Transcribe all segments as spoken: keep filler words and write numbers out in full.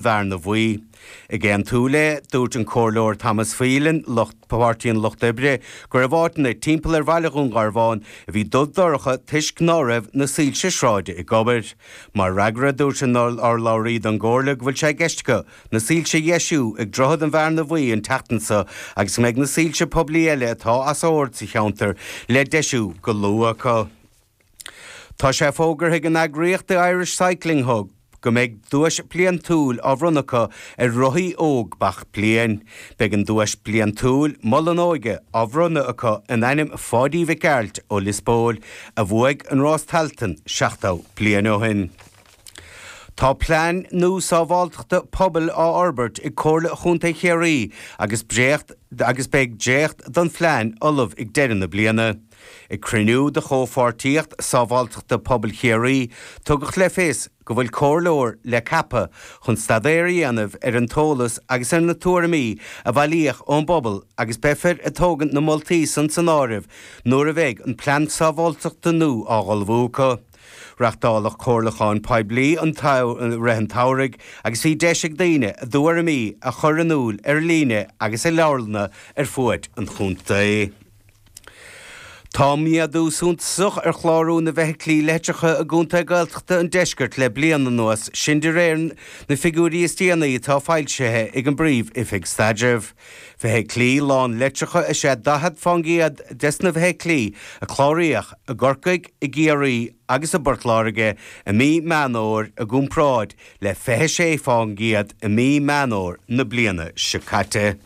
Bhearna Bhuí. Ag aontú léi, dúirt an Comhairleoir Thomas Phelan, lucht Páirtí an Lucht Oibre, go raibh áiteanna timpeall ar bhaile Dhún Garbhán a bhí dubh dorcha toisc ná raibh na soilse sráide ag obair. Mar fhreagra, dúirt an urlabhraí don gComhairle go bhfuil sé i gceist acu na soilse a dheisiú ag Droichead an Bhearna Bhuí an tseachtain seo agus go mbeidh na soilse poiblí eile atá as ord sa cheantar le deisiú go luath acu. Tá sé fógartha ag an eagraíocht The Irish Cycling Hub go mbeidh duais bliantúil á bhronnadh acu ar rothaí óg gach bliain. Beidh an duais bliantúil Mol an Óige á bhronnadh acu in ainm Pháidí Mhic Gearailt ó Lios Póil a bhuaigh an rás Tailteann seachtó bliain ó shin. Tá plean nua sábháilteachta pobail á fhorbairt ag Comhairle Chontae Chiarraí agus dréacht agus beidh dréacht den phlean ullamh ag deireadh na bliana. Ag cruinniú de chomhpháirtíocht sábháilteachta pobail Chiarraí, tugadh le fios go bhfuil comhairleoir le ceapadh chun staidéar a dhéanamh ar an t-eolas agus ar na tuairimí a bailíodh ón bpobal agus beifear ag tógaint na moltaí san san áireamh nuair a bheidh an plean sábháilteachta nua á ullmhú acu. Reáchtáladh comhairliúchán poiblí an rith an tsamhraidh agus bhí deis ag daoine a dtuairimí a chur in iúl ar líne agus i leabharlanna ar fuaid an chontae. Tá méadú suntasach ar chlárú na bhfeithiclí leictreacha i gContae Gaeltachta an Deiscirt le bliain anuas, sin de réir na figiúirí is déanaí atá foilsithe ag an bPríomh-Oifig Staidrimh. Feithiclí lán leictreacha is ea daichead faoin gcéad des na feithiclí a cláraíodh i gCorcaigh, i gCiarraí agus i bPort Láirge i mí Meán Fhómhair i gcomparáid le fiche sé faoin gcéad i mí Meán Fhómhair na bliana seo caite.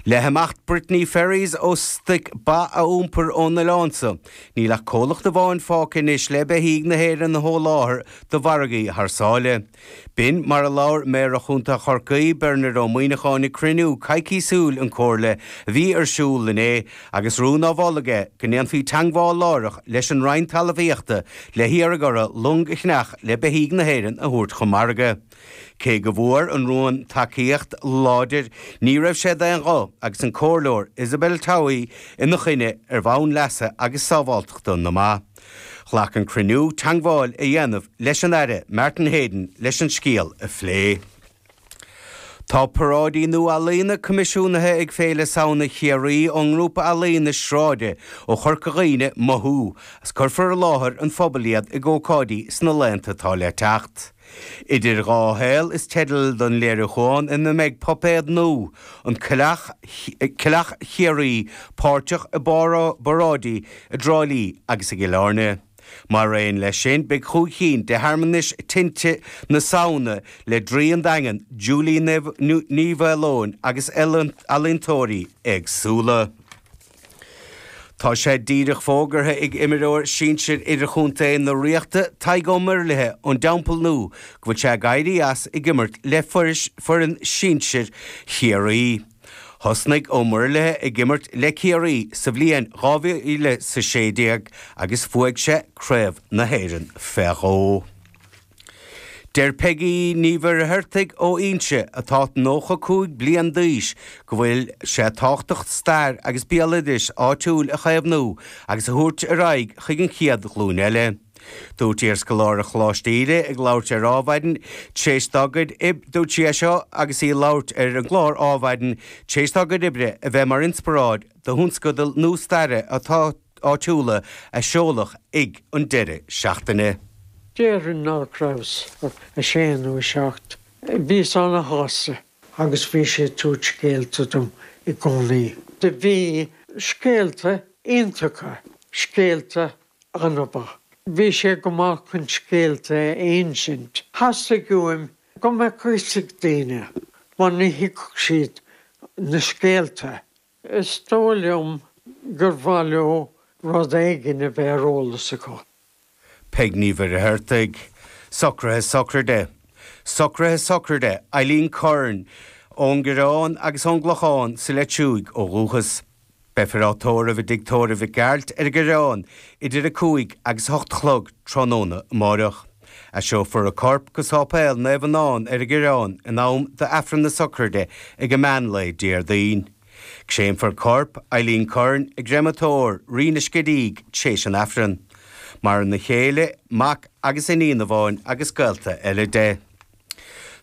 Le himeacht Brittany Ferries ó stoic ba a iompar ón oileán seo, níl ach comhlacht amháin fágtha anois le beithígh na hÉireann a sholáthar do mhargaí thar sáile. B'in mar a labhair Méara Chontae Chorcaí, Bernard Ó Muíneacháin ag cruinniú coicísiúil an Chomhairle a bhí ar siúl inné agus rún á mholadh aige go ndéanfaí teagmháil láithreach leis an Roinn Talmhaíochta le hiarraidh orthu long a cheannach le beithígh na hÉireann a thabhairt chun margaidh. Cé go bhfuair an rún tacaíocht láidir, ní raibh sé d'aon ghuth agus an comhairleoir Isabel Towey ina choinne ar bhonn leasa agus sábháilteachta na mba. Ghlac an cruinniú teagmháil a dhéanamh leis an Aire Martin Heydon leis an scéal a phlé. Tá paráidí nua ealaíne coimisiúnaithe ag Féile Samhna Chiarraí ón ngrúpa ealaíne sráide ó Chorca Dhuibhne Mothú, agus cuirfear i láthair an phobail iad ag ócáidí sna laethanta atá le teacht. Idir dhá shaol is teideal don léiriúchán ina mbeidh puipéad nua, an Coileach Coileach Chiarraí, páirteach i bparáidí i dTrá Lí agus i gCill Airne. Mar aon leis sin, beidh cúig cinn de shearmanais tinte na Samhna le Draoi an Daingin, Julie Ní Mhaoileoin agus ealaíontóirí éagsúla. Tá sé díreach fógartha ag imreoir sinsir idirchontae na Ríochta, Tadhg Ó Muirthile ón dTeampall Nua, go bhfuil sé ag éirí as ag imirt le foireann sinsir Chiarraí. Thosnaigh Ó Muirthile ag imirt le Ciarraí sa bhliain dhá mhíle is a sé déag agus bhuaigh sé Craobh na hÉireann fé dhó. Deir Peigí Ní Mhuircheartaigh ó Inse, atá nócha cúig bliain d'aois, go bhfuil sé tábhachtach stair agus béaloideas áitiúil a chaomhnú agus a thabhairt ar aghaidh chuig an chéad ghlúin eile. Dúirt iarscoláire Choláiste Íde ag labhairt ar Adhmhaidin tar éis dá gcuid Dúirt sí é seo agus í ag labhairt ar an gclár Adhmhaidin tar éis dá gcuid oibre a bheith mar inspioráid do thionscadal nua staire atá áitiúla a seoladh ag an deireadh seachtaine. Déarfainn nach rabhas ach a sé nó a seacht. Bhíos ana-shásta agus bhí sé ag tabhairt scéalta dom i gcónaí. Do bhí scéalta iontacha, scéalta an-mhaith. Bhí sé go maith chun scéalta a insint. Theastaigh uaim go mbeadh fhios ag daoine mar ní thuigfeadh siad na scéalta. Is dóigh liom gur mhaith leo rud éigin a bheith ar eolas acu. Peig Ní Mhuircheartaigh. Socruithe sochraide. Socruithe sochraide Eileen Curran ón gCoireán agus ón gClochán sa Leitriúigh ó dhúchas. Beifear á tórramh i dTigh Tórraimh Mhic Gearailt ar an gCoireán idir a cúig agus a hocht a chlog tráthnóna amáireach. Eiseofar a corp go Sáipéal Naomh Adhamhnán ar an gCoireán in am d'Aifreann na sochraide ag an meán lae Déardaoin. Créamfar corp Eileen Curran i gcreamatóir Rí na Scidígh tar éis an Aifrinn. Maireann a céile, mac agus iníon amháin agus gaolta eile de.